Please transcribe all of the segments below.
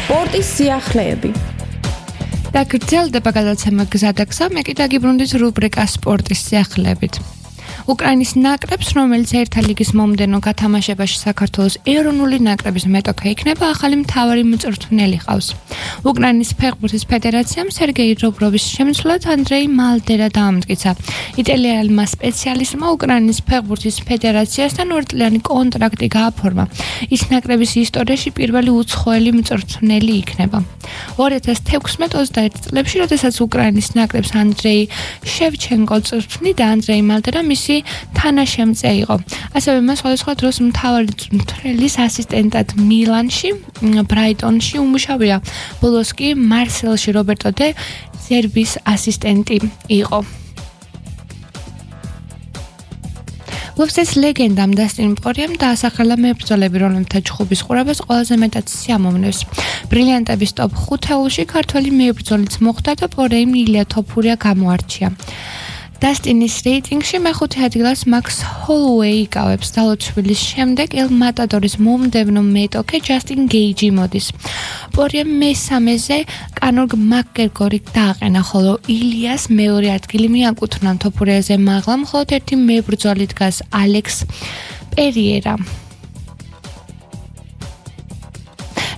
სპორტის სიახლეები. და გრძელდება გადაცემა გზადაგსა, მე კი დაგიბრუნდით რუბრიკა სპორტის სიახლეებით. უკრაინის ნაკრებს, რომელიც ერთა ლიგის მომდევნო გათამაშებაში საქართველოს ეროვნული ნაკრების მეტოქე იქნება, ახალი მთავარი მწვრთნელი ყავს. უკრაინის ფეხბურთის ფედერაციამ სერგეი რობროვის შემცვლად ანდრეი მალდერა დაამტკიცა. იტალიელმა სპეციალისტმა უკრაინის ფეხბურთის ფედერაციასთან 2 წლიანი კონტრაქტი გააფორმა. ის ნაკრების ისტორიაში პირველი უცხოელი მწვრთნელი იქნება. 2016-21 წლებში, როდესაც უკრაინის ნაკრებს ანდრეი შევჩენკო წვრთნიდა, ანდრეი მალდერა მისი თანაშემწე იყო. ასევე მას სხვადასხვა დროს მთავარი მწვრთნელის ასისტენტად მილანში, ბრაიტონში უმუშავია. ბოლოს კი მარსელში რობერტო დე ზერბის ასისტენტი იყო. UFC-ს ლეგენდამ დასტინ პორიემ დაასახელა მებრძოლები, რომლებთა ჩხუბის ყურებას ყველაზე მეტად სიამოვნებს. ბრილიანტების ტოპ 5-ში ქართველი მებრძოლიც მოხვდა და პორიემ ილია თოფურია გამოარჩია. დასტინის რეიტინგში მეხუთე ადგილას მაქს ჰოლოუეი იკავებს. დალოცვილის შემდეგ ელ მატადორის მომდევნო მეტოქე ჯასტინ გეიჯი მოდის. პორიემ მესამეზე კანორ მაკგრეგორი დააყენა, ხოლო ილიას მეორე ადგილი მიაკუთვნა. თოფურიაზე მაღლა მხოლოდ ერთი მებრძოლი დგას, ალექს პერიერა.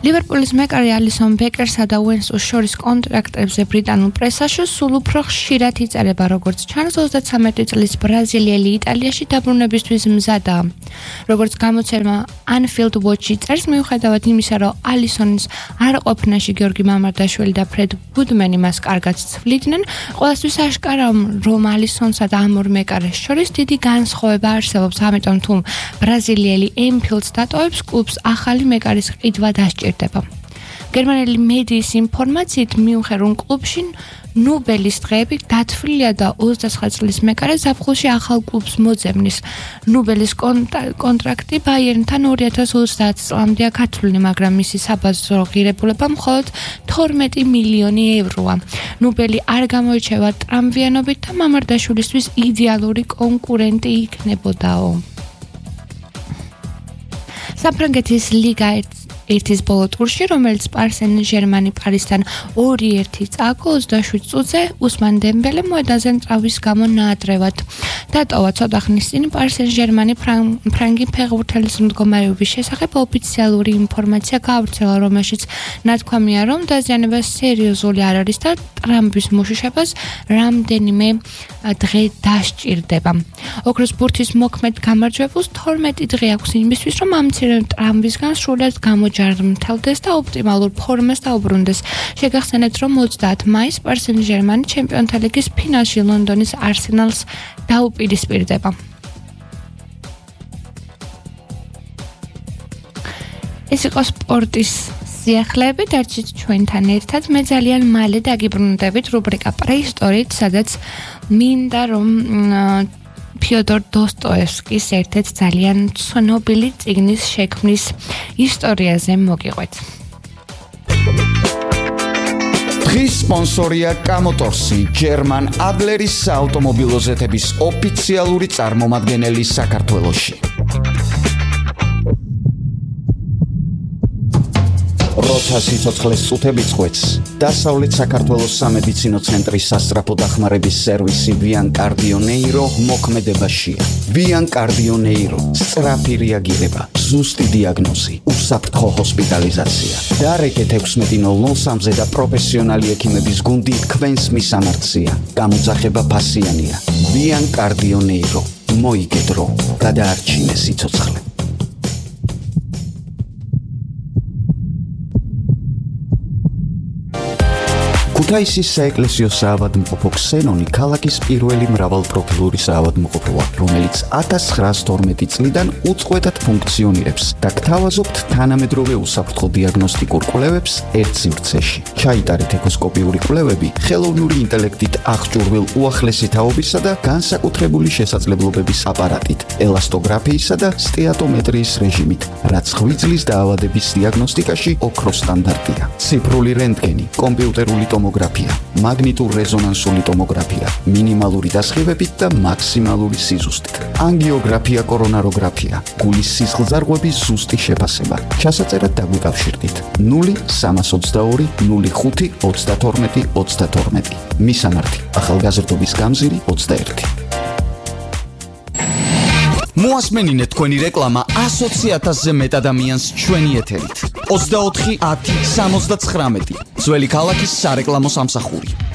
ლივერპულის მეკარე ალისონ ბეკერსა და უენსოს შორის კონტრაქტებზე ბრიტანულ პრესაში სულ უფრო ხშირად იწერება, როგორც ჩანს, 33 წლის ბრაზილიელი იტალიაში დაბრუნებისთვის მზადაა. როგორც გამოცემა Anfield Watch წერს, მიუხედავად იმისა, რომ ალისონის არყოფნაში გიორგი მამარდაშვილი და ფრედ გუდმენი მას კარგად ცვლიდნენ, ყველასთვის აშკარაა, რომ ალისონსა და ამ ორ მეკარეს შორის დიდი განსხვავება არსებობს, ამიტომ თუ ბრაზილიელი Anfield-ს დატოვებს, კლუბს ახალი მეკარის ყიდვა დასჭირდება. გერმანელი მედიის ინფორმაციით მიუხედავად კლუბში ნუბელის დღეები დათვლილია და 29 წლის მეკარე ზაფხულში ახალ კლუბს მოძებნის. ნუბელის კონტრაქტი ბაიერნთან 2030 წლამდეა გათვლილი, მაგრამ მისი საბაზრო ღირებულება მხოლოდ 12 მილიონი ევროა. ნუბელი არ გამოირჩევა ტრამვიანობით და მამარდაშვილისთვის იდეალური კონკურენტი იქნებოდაო. საფრანგეთის ლიგა ერთის ბოლო ტურში, რომელიც პარიზენ ჟერმანი პარიზთან 2-1 წააგო 27 წუთზე, უსმან დემბელე მოედანზე ტრავმის გამო ნაადრევად დატოვა. ცოტა ხნის წინ პარიზენ ჟერმანი ფრანგი ფეხბურთელის მდგომარეობის შესახებ ოფიციალური ინფორმაცია გაავრცელა, რომელშიც ნათქვამია, რომ დაზიანება სერიოზული არ არის და ტრამვის მოშიშებას რამდენიმე დღე დასჭირდება. ოქროს ბურთის მოქმედ გამარჯვებულს 12 დღე აქვს იმისთვის, რომ ამ მცირე ტრამვისგან სრულად გამოჯარმთავდეს და ოპტიმალურ ფორმას დაუბრუნდეს. შეგახსენებთ, რომ 30 მაისს პარიზენ ჟერმანი ჩემპიონთა ლიგის ფინალში ლონდონის არსენალს დაუპირისპირდება. ეს იყო სპორტის სიახლეები, დარჩით ჩვენთან ერთად. მე ძალიან მალე დაგიბრუნდებით რუბრიკა პრეისტორიით, სადაც მინდა რომ ფიოდორ დოსტოევსკის ერთ-ერთ ძალიან ცნობილი წიგნის შექმნის ისტორიაზე მოგიყვეთ. დღის სპონსორია კამოტორსი, ჯერმან ადლერის საავტომობილო ზეთების ოფიციალური წარმომადგენელი საქართველოში. როცა სიცოცხლეს წუთები წყვეტს, დასავლეთ საქართველოს სამედიცინო ცენტრის სასწრაფო დახმარების სერვისი ვიან კარდიონეირო მოქმედებაშია. ვიან კარდიონეირო, სწრაფი რეაგირება, ზუსტი დიაგნოზი, უსაფრთხო ჰოსპიტალიზაცია. დარეკეთ 16:03-ზე და პროფესიონალი ექიმების გუნდი თქვენს მისამართია. გამოძახება ფასიანია. ვიან კარდიონეირო, მოიგედრო, გადაარჩინე სიცოცხლე. ქუთაისის საეკლესიო საავადმყოფო ქსენონი ქალაქის პირველი მრავალპროფილური საავადმყოფოა, რომელიც 1912 წლიდან უწყვეტად ფუნქციონირებს და გთავაზობთ თანამედროვე უსაფრთხო დიაგნოსტიკურ კვლევებს ერთ სივრცეში. ჩაიტარეთ ეკოსკოპიური კვლევები ხელოვნური ინტელექტით აღჭურვილ უახლესი თაობისა და განსაკუთრებული შესაძლებლობების აპარატით, ელასტოგრაფიისა და სტეატომეტრიის რეჟიმით, რაც ღვიძლის დაავადების დიაგნოსტიკაში ოქროს სტანდარტია. ციფრული რენტგენი, კომპიუტერული ტომოგრაფია ტომოგრაფია, მაგნიტურ რეზონანსული ტომოგრაფია, მინიმალური დასხივებით და მაქსიმალური სიზუსტით, ანგიოგრაფია, კორონაროგრაფია, გულის სისხლძარღვების ზუსტი შეფასება. ჩასაწერად დაგვიკავშირდით 0322 05 32 32. მისამართი: ახალგაზრდობის გამზირი 21. მოასმენინეთ თქვენი რეკლამა 120,000-ზე მეტ ადამიანს ჩვენი ეთერით. 24 10 79. ძველი ქალაქის სარეკლამო სამსახური.